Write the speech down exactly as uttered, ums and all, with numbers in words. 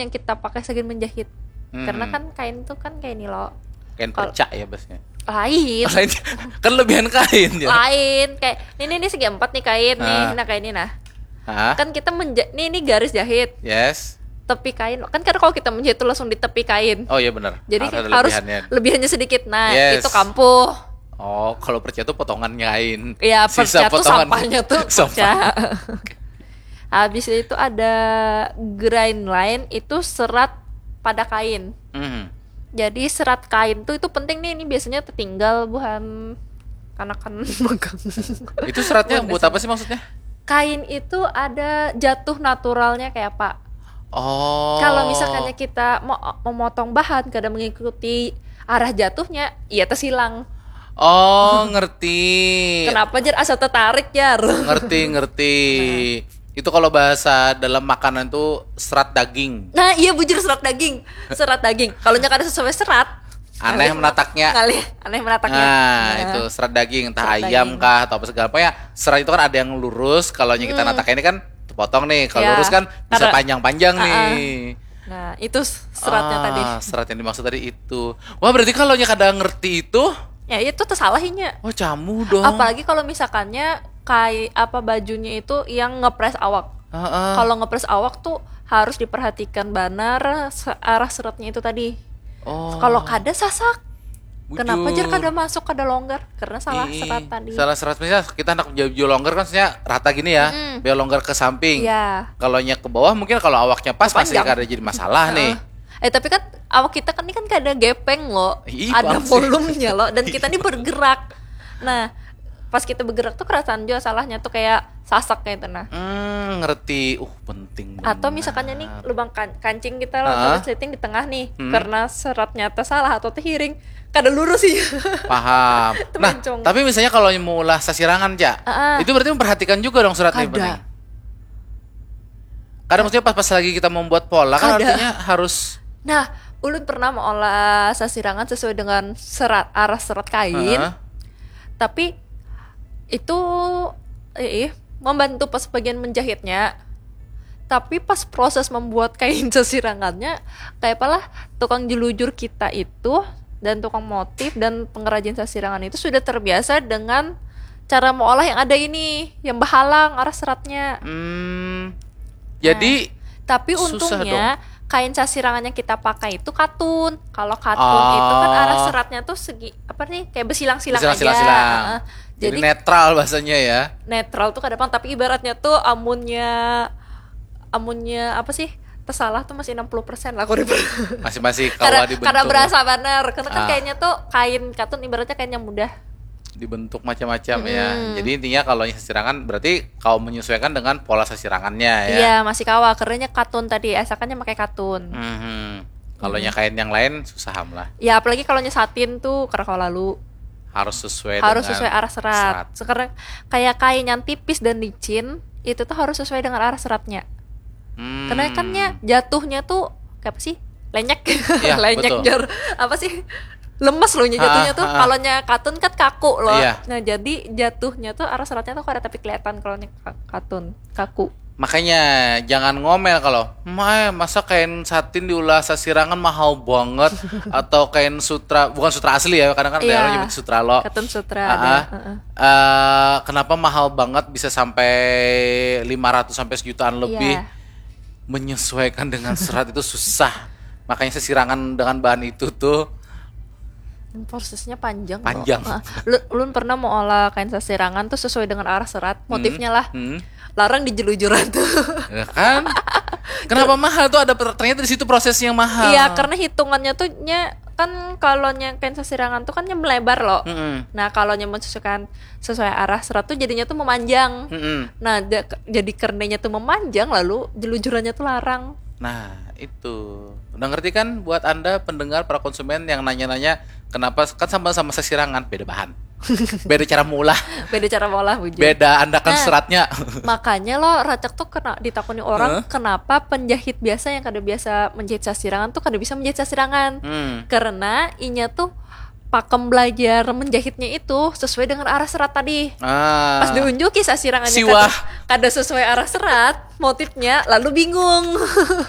yang kita pakai sagan menjahit. Hmm. Karena kan kain tuh kan kayak ini loh. Kain Kal- perca ya bosnya. Lain. Lain, kan lebihan kain ya. Lain kayak ini, ini segi empat nih kain nih. Ah. Nah, kayak ini nah. Hah? Kan kita menja- nih ini garis jahit. Yes. Tepi kain kan, karena kalau kita menjahit tuh langsung di tepi kain. Oh iya, benar. Jadi Harus ada harus lebihannya. Lebihannya sedikit. Nah, Yes. Itu kampuh. Oh, kalau perca itu potongan kain. Ya, Sisa perca tuh potongan. Sampahnya tuh Sampah. Perca. Habis itu ada grind line, itu serat pada kain. Hmm. Jadi serat kain tuh itu penting nih, ini biasanya tertinggal buhan kanakan magang. Itu seratnya Buhan buat S M A. Apa sih maksudnya? Kain itu ada jatuh naturalnya kayak apa? Oh. Kalau misalkannya kita mau memotong bahan kada mengikuti arah jatuhnya, iya tersilang. Oh, ngerti. Kenapa jar asa tertarik jar? Ngerti, ngerti. Itu kalau bahasa dalam makanan tuh serat daging. Nah, iya bujur, serat daging. Serat daging. Kalau nya kada sesuai serat, Aneh menataknya. Ngalih, aneh menataknya. Nah, itu serat daging, entah Serat ayam daging. Kah atau apa segala apa ya. Serat itu kan ada yang lurus, kalau kita Hmm. natak ini kan terpotong nih. Kalau Ya, lurus kan bisa karena- panjang-panjang Ah, ah. nih. Nah, itu s- seratnya Ah, tadi. Serat yang dimaksud tadi itu. Wah, berarti kalau nya kada ngerti itu, Ya, itu tersalah inya. Wah, camu dong. Apalagi kalau misalkannya kayak apa, bajunya itu yang ngepres awak. Heeh. Kalau ngepres awak tuh harus diperhatikan banar se- arah seratnya itu tadi. Oh. Kalau kada sasak. Kenapa Bujur. Jar kada masuk, kada longgar? Karena salah Ih, serat tadi. Salah serat, misalnya kita anak jauh longgar kan, maksudnya rata gini ya, Mm-mm. biar longgar ke samping. Iya. Kalau nya ke bawah mungkin kalau awaknya pas masih Panjang. Kada jadi masalah nih. Eh, tapi kan awak kita kan ini kan kada gepeng loh. Ih, Ada paham sih. Volumenya loh, dan kita ini bergerak. Nah, pas kita bergerak tuh kerasaan juga salahnya tuh kayak sasak kayak itu nah. Hmm, ngerti. Uh, penting Atau benar. Misalkannya nih lubang kan- kancing kita loh, Heeh. ada setting di tengah nih. Hmm. Karena seratnya tersalah atau terhiring, kada lurus sih. Paham. Nah, Terpencong. Tapi misalnya kalau mau olah sasirangan, Cak, Heeh. Itu berarti memperhatikan juga dong serat nih, Kada. Bening? Kada, maksudnya pas, pas lagi kita membuat pola kan Kada. Artinya harus Nah, ulun pernah mengolah sasirangan sesuai dengan serat, arah serat kain. Heeh. Tapi itu eh, membantu pas bagian menjahitnya. Tapi pas proses membuat kain sasirangannya, kayak apalah, tukang jelujur kita itu dan tukang motif dan pengrajin sasirangan itu sudah terbiasa dengan cara mengolah yang ada ini, yang berhalang arah seratnya. Hmm. Jadi Tapi Susah untungnya kain sasirangan yang kita pakai itu katun. Kalau katun Oh. Itu kan arah seratnya tuh segi apa nih, kayak bersilang-silang Silang, aja. silang, silang. Heeh. Jadi, netral bahasanya ya. Netral tuh kada pang, tapi ibaratnya tuh amunnya amunnya apa sih, tersalah tuh masih enam puluh persen lah, aku Masih masih karena kawa dibentuk. Karena berasa benar, karena kan Ah. Kayaknya tuh kain katun ibaratnya kain yang mudah. Dibentuk macam-macam ya. Mm-mm. Jadi intinya kalau sasirangan berarti kau menyesuaikan dengan pola sasirangannya ya. Iya, masih kawa, karena katun tadi asakannya pakai katun. Mhm. Kalau nya kain yang lain susah am lah. Ya apalagi kalau nya satin tuh kada kawa lalu. Harus sesuai Harus dengan sesuai arah serat. serat. Sekarang kayak kain yang tipis dan licin itu tuh harus sesuai dengan arah seratnya. Hmm. Karena kan nya jatuhnya tuh kayak apa sih? Lenyek. Iya, Lenyek betul. Jar. Apa sih? Lemes loh nya jatuhnya Ha, tuh. ha, ha. Kalau nya katun kan kaku loh. Iya. Nah, jadi jatuhnya tuh arah seratnya tuh kada tapi kelihatan kalau nya ka- katun, kaku. Makanya jangan ngomel kalau, "Mae, masa kain satin diulah sasirangan mahal banget?" Atau kain sutra, bukan sutra asli ya, kadang kan ada Iya. orang nyebut sutra lo. Katun sutra Ah, ada. ah. Heeh. Eh, kenapa mahal banget bisa sampai lima ratus sampai sejutaan lebih? Iya. Menyesuaikan dengan serat itu susah. Makanya sasirangan dengan bahan itu tuh Dan prosesnya panjang. Panjang. Loh. Heeh. Lu, ulun pernah mau olah kain sasirangan tuh sesuai dengan arah serat, motifnya lah. Hmm. Larang di jelujuran tuh. Ya kan? Kenapa mahal tuh, ada per- ternyata di situ prosesnya yang mahal. Iya, karena hitungannya tuh nya kan kalau nya kain sasirangan tuh kan nya melebar loh. Mm-mm. Nah, kalau nya mensesuaikan sesuai arah serat tuh jadinya tuh memanjang. Mm-mm. Nah, da- jadi karenanya tuh memanjang lalu jelujurannya tuh larang. Nah, itu. Udah ngerti kan buat Anda pendengar, para konsumen yang nanya-nanya kenapa kan sama-sama sasirangan, beda bahan. Beda cara maulah, Beda cara maulah bujur. Beda andakan Nah, seratnya. Makanya lo Racak tuh kena ditakuni orang Hah? Kenapa penjahit biasa yang kada biasa menjahit sasirangan tuh kada bisa menjahit sasirangan. Hmm. Karena inya tuh pakem belajar menjahitnya itu sesuai dengan arah serat tadi. Ah. Pas diunjuki sasirangannya Siwah. kada, kada sesuai arah serat, motifnya lalu bingung.